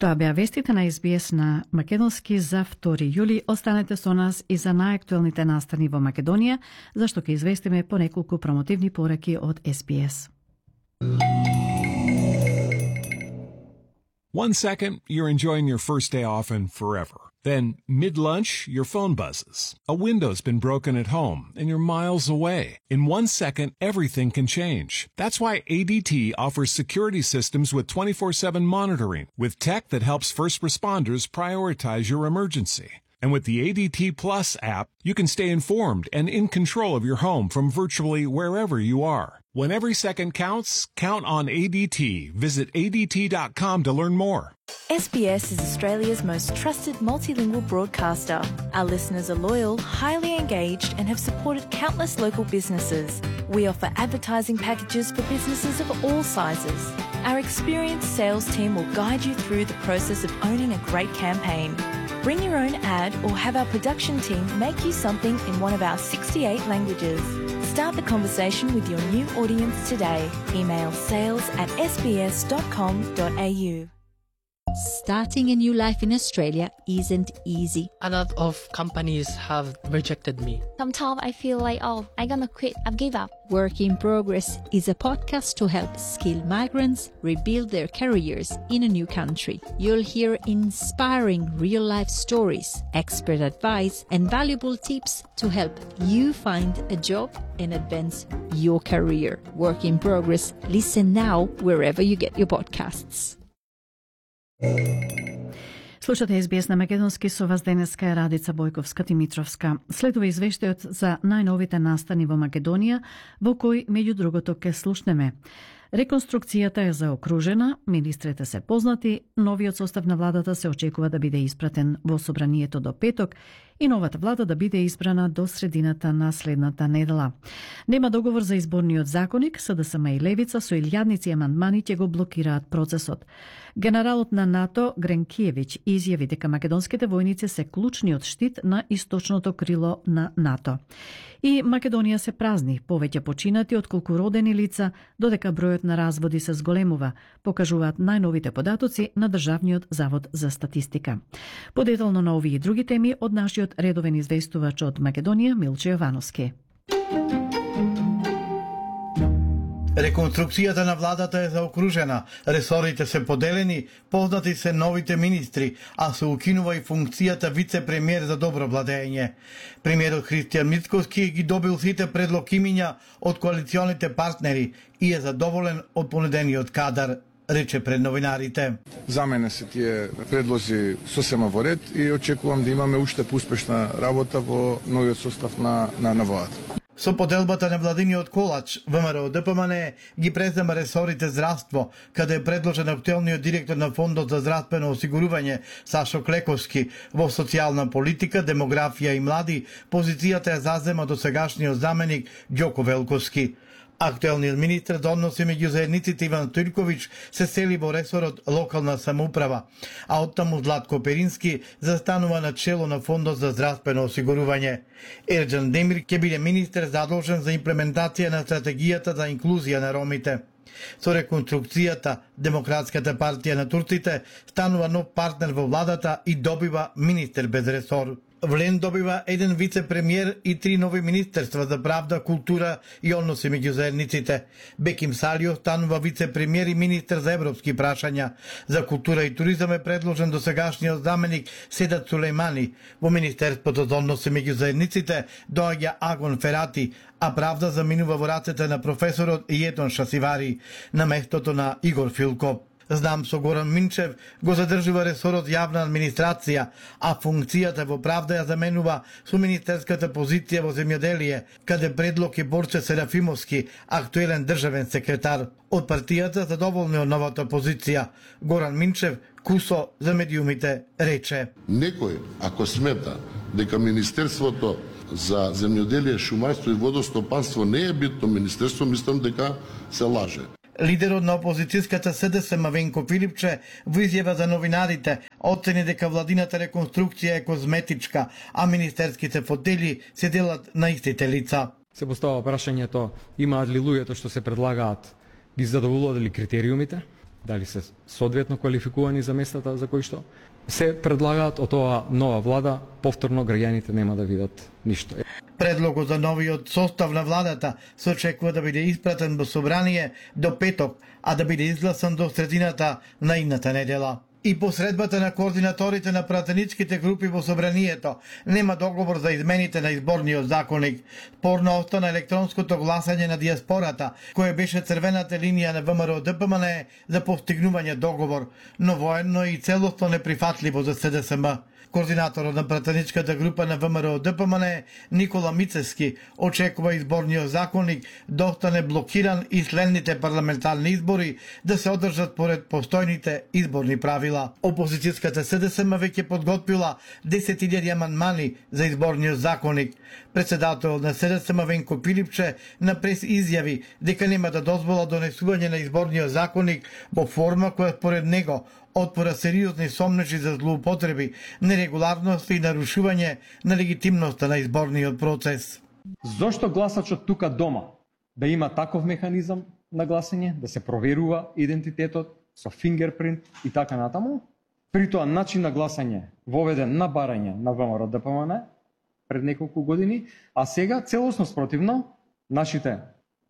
Тоа беа вестите на SBS на македонски за 2 јули. Останете со нас и за најактуелните настани во Македонија, зашто ќе известиме по неколку промотивни пораки од SBS. 1 second, you're enjoying your first day off and forever. Then, mid-lunch, your phone buzzes. A window's been broken at home and you're miles away. In 1 second, everything can change. That's why ADT offers security systems with 24/7 monitoring, with tech that helps first responders prioritize your emergency. And with the ADT Plus app, you can stay informed and in control of your home from virtually wherever you are. When every second counts, count on ADT. Visit ADT.com to learn more. SBS is Australia's most trusted multilingual broadcaster. Our listeners are loyal, highly engaged, and have supported countless local businesses. We offer advertising packages for businesses of all sizes. Our experienced sales team will guide you through the process of owning a great campaign. Bring your own ad or have our production team make you something in one of our 68 languages. Start the conversation with your new audience today. Email sales@sbs.com.au. Starting a new life in Australia isn't easy. A lot of companies have rejected me. Sometimes I feel like, I'm gonna quit, I've give up. Work in Progress is a podcast to help skilled migrants rebuild their careers in a new country. You'll hear inspiring real-life stories, expert advice, and valuable tips to help you find a job and advance your career. Work in Progress. Listen now wherever you get your podcasts. Слушате SBS на македонски, со вас денеска е Радица Бојковска-Димитровска. Следува извештајот за најновите настани во Македонија, во кој, меѓу другото, ке слушнеме. Реконструкцијата е заокружена, министрите се познати, новиот состав на владата се очекува да биде испратен во собранието до петок и новата влада да биде избрана до средината на следната недела. Нема договор за изборниот законник, СДСМ и Левица со илјадници амандмани ќе го блокираат процесот. Генералот на НАТО Гренкиевиќ изјави дека македонските војници се клучниот штит на источното крило на НАТО. И Македонија се празни, повеќе починати отколку родени лица, додека бројот на разводи се зголемува, покажуваат најновите податоци на Државниот завод за статистика. Подетално на овие и други теми од нашиот редовен известувач од Македонија Милче Јовановски. Реконструкцијата на владата е заокружена, ресорите се поделени, познати се новите министри, а се укинува и функцијата вице-премиер за добро владење. Премиерот Христијан Мицкоски ги добил сите предлог имиња од коалиционите партнери и е задоволен од понудениот кадар, рече пред новинарите. За мене се тие предлози сосема во ред и очекувам да имаме уште успешна работа во новиот состав на владата. Со поделбата на владиниот колач, ВМРО ДПМН ги презема ресорите здравство, каде е предложен актуелниот директор на Фондот за здравствено осигурување Сашо Клековски. Во социјална политика, демографија и млади, позицијата ја зазема досегашниот заменик Ѓоко Велковски. Актуелниот министр за односи меѓу заедниците Иван Турковиќ се сели во ресорот локална самоуправа, а оттаму Златко Перински застанува на чело на Фондот за здравствено осигурување. Ерџан Демир ќе биде министер задолжен за имплементација на стратегијата за инклузија на ромите. Со реконструкцијата, Демократската партија на турците станува нов партнер во владата и добива министер без ресор. Влен добива еден вице-премиер и 3 нови министерства за правда, култура и односи меѓу заедниците. Беким Салио станува вице-премиер и министер за европски прашања. За култура и туризам е предложен досегашниот заменик Седат Сулејмани. Во Министерството за односи меѓу заедниците доаѓа Агон Ферати, а правда заминува во рацете на професорот Јетон Шасивари на местото на Игор Филко. Знам со Горан Минчев го задржува ресорот јавна администрација, а функцијата во правда ја заменува со министерската позиција во земјоделие, каде предлог е Борче Серафимовски, актуелен државен секретар. Од партијата задоволни од новата позиција. Горан Минчев, кусо за медиумите, рече: Некој, ако смета дека Министерството за земјоделие, шумарство и водостопанство не е битно министерство, мислам дека се лаже. Лидерот на опозицијската СДСМ Венко Филипче во изјава за новинарите оцени дека владината реконструкција е козметичка, а министерските фотели се делат на истите лица. Се постава прашањето, имаат ли луѓето што се предлагаат ги задоволуваат ли критериумите? дали се соодветно квалификувани за местата за кои што се предлагаат од оваа нова влада, повторно граѓаните нема да видат ништо. Предлогот за новиот состав на владата се очекува да биде испратен во собрание до петок, а да биде изгласан до средината на идната недела. И по средбата на координаторите на пратеничките групи во собранието нема договор за измените на изборниот законник. Спорно остана електронското гласање на диаспората, кое беше црвената линија на ВМРО ДПМН за постигнување договор, но военно и целосно неприфатливо за СДСМ. Координаторот на пратеничката група на ВМРО ДПМН Никола Мицевски очекува изборниот законник да остане блокиран и следните парламентарни избори да се одржат поред постојните изборни правила. Опозицијската СДСМ веќе подготвила 10.000 амандмани за изборниот законник. Председателот на СДСМ Венко Пилипче на прес изјави дека нема да дозвола донесување на изборниот законник во форма која според него отвора сериозни сомнежи за злоупотреби, нерегуларности и нарушување на легитимноста на изборниот процес. Зошто гласачот тука дома да има таков механизам на гласање, да се проверува идентитетот со фингерпринт и така натаму, при тоа начин на гласање воведен на барање на ВМРО ДПМН пред неколку години, а сега целосно спротивно нашите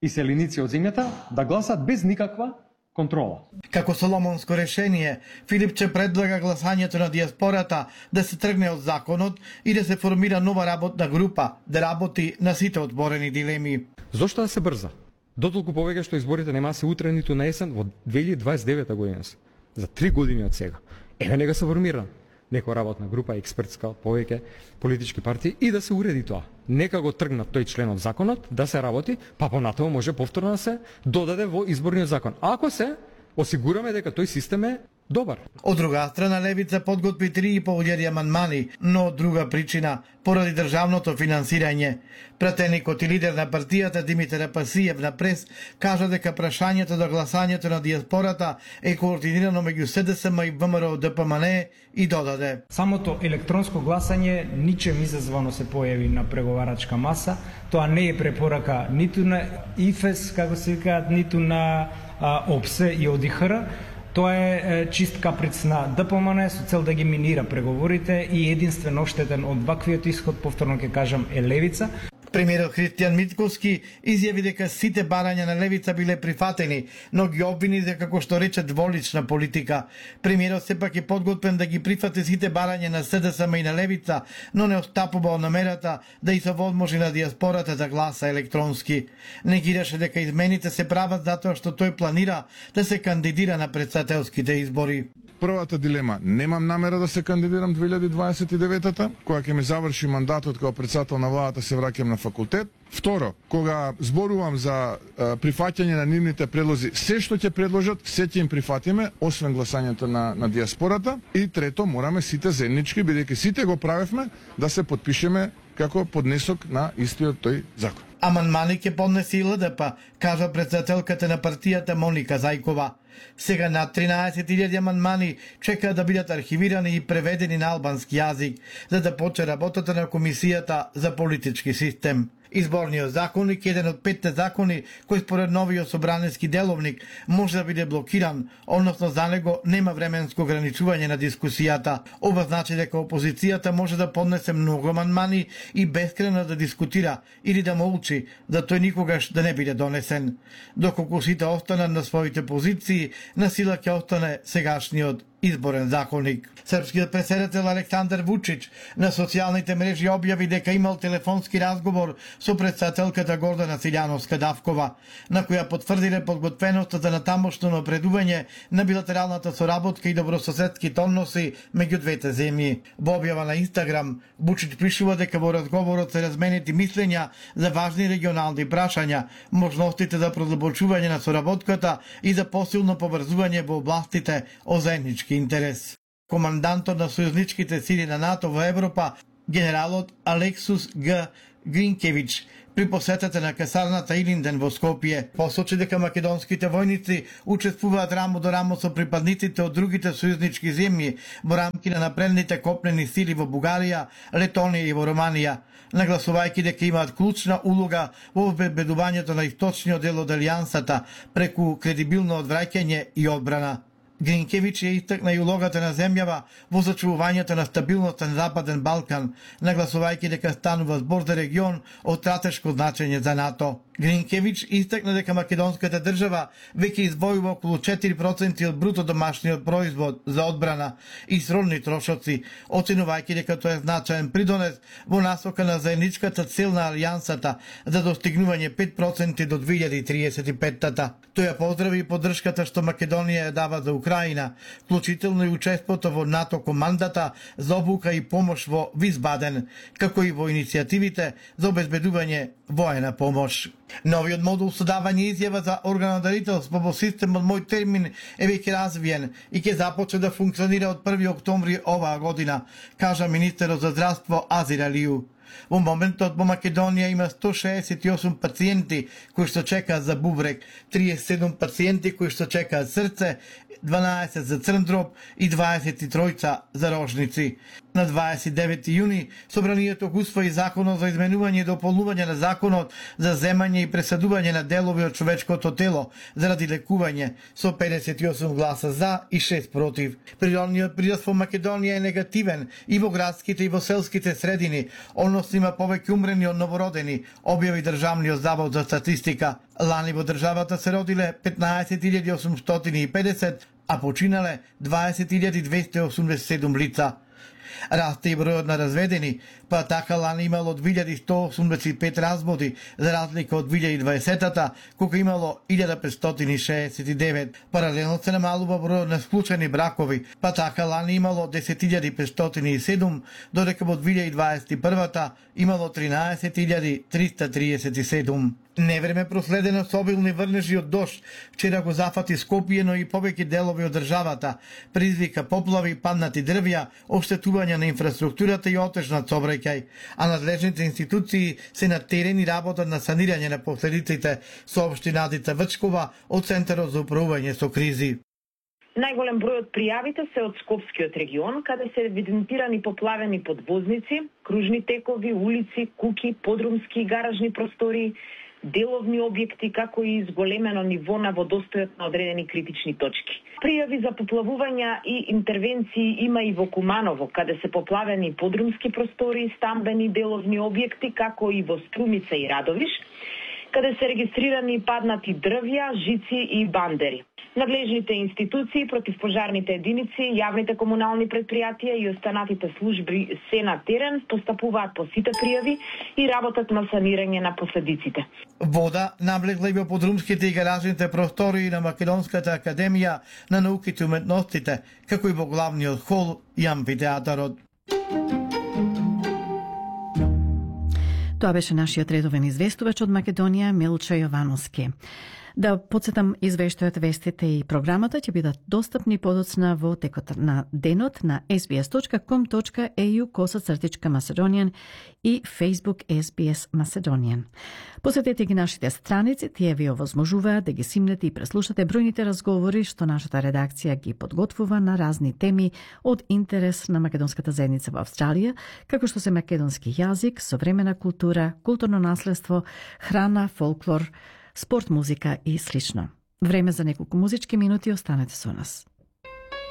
иселеници од земјата да гласат без никаква контрола. Како соломонско решение, Филипче предлага гласањето на диаспората да се тргне од законот и да се формира нова работна група да работи на сите отворени дилеми. Зошто да се брза? Дотолку повеќе што изборите нема се утре ниту на есен во 2029 година се. За 3 години од сега. Еве нека се формира некоја работна група, експертска, повеќе политички партии и да се уреди тоа. Нека го тргнат тој член од законот, да се работи, па понатаму може повторно да се додаде во изборниот закон. Ако се осигураме дека тој систем е добар. Од друга страна, Левица подготви 3.500 амандмани, но од друга причина, поради државното финансирање. Пратеникот и лидер на партијата Димитар Апасиев на прес кажа дека прашањето за гласањето на диаспората е координирано меѓу СДСМ и ВМРО ДПМН и додаде. Самото електронско гласање ничем изазвано се појави на преговарачка маса. Тоа не е препорака ниту на ИФЕС, како се викаат, ниту на ОПСЕ и ОДИХР. Тоа е чист каприц на ДПМН со цел да ги минира преговорите и единствено оштетен од ваквиот исход, повторно ќе кажам, е Левица. Премиерот Христијан Митковски изјави дека сите барања на Левица биле прифатени, но ги обвини за како што рече дволична политика. Премиерот сепак е подготвен да ги прифати сите барања на СДСМ и на Левица, но не отстапува од намерата да и се возможи на диаспората да гласа електронски. Негираше дека измените се прават затоа што тој планира да се кандидира на претседателските избори. Првата дилема, немам намера да се кандидирам 2029-та, кога ќе ми заврши мандатот како председател на владата, се враќам на факултет. Второ, кога зборувам за прифаќање на нивните предлози, се што ќе предложат, се ќе им прифатиме, освен гласањето на диаспората. И трето, мораме сите заеднички, бидејќи сите го правевме, да се подпишеме како поднесок на истиот тој закон. Амандмани ќе поднесе и ЛДП, кажа председателката на партијата Моника Зајкова. Сега над 13.000 амандмани чекаат да бидат архивирани и преведени на албански јазик, за да почне работата на Комисијата за политички систем. Изборниот законник е еден од 5 закони кој според новиот собранески деловник може да биде блокиран, односно за него нема временско ограничување на дискусијата. Ова значи дека опозицијата може да поднесе многу амандмани и бескрајно да дискутира или да молчи, да тој никогаш да не биде донесен. Доколку сите останат на своите позиции, на сила ќе остане сегашниот изборен законник. Српскиот претседател Александар Вучич на социјалните мрежи објави дека имал телефонски разговор со претседателката Гордана Силјановска-Давкова, на која потврдиле подготвеноста за натамошно напредување на билатералната соработка и добрососедските односи меѓу двете земји. Во објава на Инстаграм, Вучич пишува дека во разговорот се разменети мислења за важни регионални прашања, можностите за продлабочување на соработката и за посилно поврзување во областите од заеднички интерес. Командантот на сојузничките сили на НАТО во Европа, генералот Алексус Г. Гринкевич, При посетата на касарната Илинден во Скопје посочи дека македонските војници учествуваат рамо до рамо со припадниците од другите сојузнички земји во рамки на напредните копнени сили во Бугарија, Летонија и во Романија, нагласувајќи дека имаат клучна улога во обезбедувањето на источниот дел од алијансата преку кредибилно одвраќање и одбрана. Гринкевич ја истакна и улогата на земјава во зачувувањето на стабилноста на Западен Балкан, нагласувајќи дека станува збор за регион од стратешко значење за НАТО. Гринкевич истакна дека македонската држава веќе издвојува околу 4% од бруто домашниот производ за одбрана и сродни трошоци, оценувајќи дека тоа е значаен придонес во насока на заедничката цел на алијансата за достигнување 5% до 2035-та. Тој ја поздрави и поддршката што Македонија ја дава за Украина, вклучително и учеството во НАТО командата за обука и помош во Висбаден, како и во иницијативите за обезбедување воена помош. Новиот модул со давање изјава за органодарителство во системот Мој термин е веќе развиен и ќе започне да функционира од 1 октомври оваа година, кажа министерот за здравство Азир Алију. Во моментот во Македонија има 168 пациенти кои што чекаат за бубрек, 37 пациенти кои што чекаат срце, 12 за црн дроб и 23 за рожници. На 29 јуни собранието го усвои законот за изменување и дополнување на законот за земање и пресадување на делови од човечкото тело заради лекување со 58 гласа за и 6 против. Природниот прираст во Македонија е негативен и во градските и во селските средини, односно има повеќе умрени од новородени, објави Државниот завод за статистика. Лани во државата се родиле 15.850, а починале 20.287 лица. Расте и бројот на разведени, па така лани имало 2185 разводи, за разлика од 2020-та, кога имало 1569. Паралелно се намалува бројот на склучени бракови, па така лани имало 10.507, додека во 2021-та имало 13.337. Невреме проследено со обилни врнежи од дожд, вчера го зафати Скопје, но и повеќе делови од државата, предизвика поплави, паднати дрвја, оштетување на инфраструктурата и отежнат сообраќај, а надлежните институции се на терен и работат на санирање на последиците, соопшти Надица Вчкова од Центарот за управување со кризи. Најголем број од пријавите се од Скопскиот регион, каде се евидентирани поплавени подвозници, кружни текови, улици, куќи, подрумски и гаражни простории, деловни објекти, како и зголемено ниво на водостојот на одредени критични точки. Пријави за поплавувања и интервенции има и во Куманово, каде се поплавени подрумски простории, стамбени деловни објекти, како и во Струмица и Радовиш, каде се регистрирани паднати дрвја, жици и бандери. Надлежните институции, противпожарните единици, јавните комунални предпријатија и останатите служби се на терен, постапуваат по сите пријави и работат на санирање на последиците. Вода навлегла и во подрумските и гаражните простории на Македонската академија на науките и уметностите, како и во главниот хол и амфитеатарот. Тоа беше нашиот редовен известувач од Македонија Милчо Јовановски. Да подсетам, извештајот, вестите и програмата ќе бидат достапни подоцна во текот на денот на sbs.com.au/Macedonian и Facebook SBS Macedonian. Посетете ги нашите страници, тие ви овозможуваат да ги симнете и преслушате бројните разговори што нашата редакција ги подготвува на разни теми од интерес на македонската заедница во Австралија, како што се македонски јазик, современа култура, културно наследство, храна, фолклор, спорт, музика и слично. Време за неколку музички минути, останете со нас.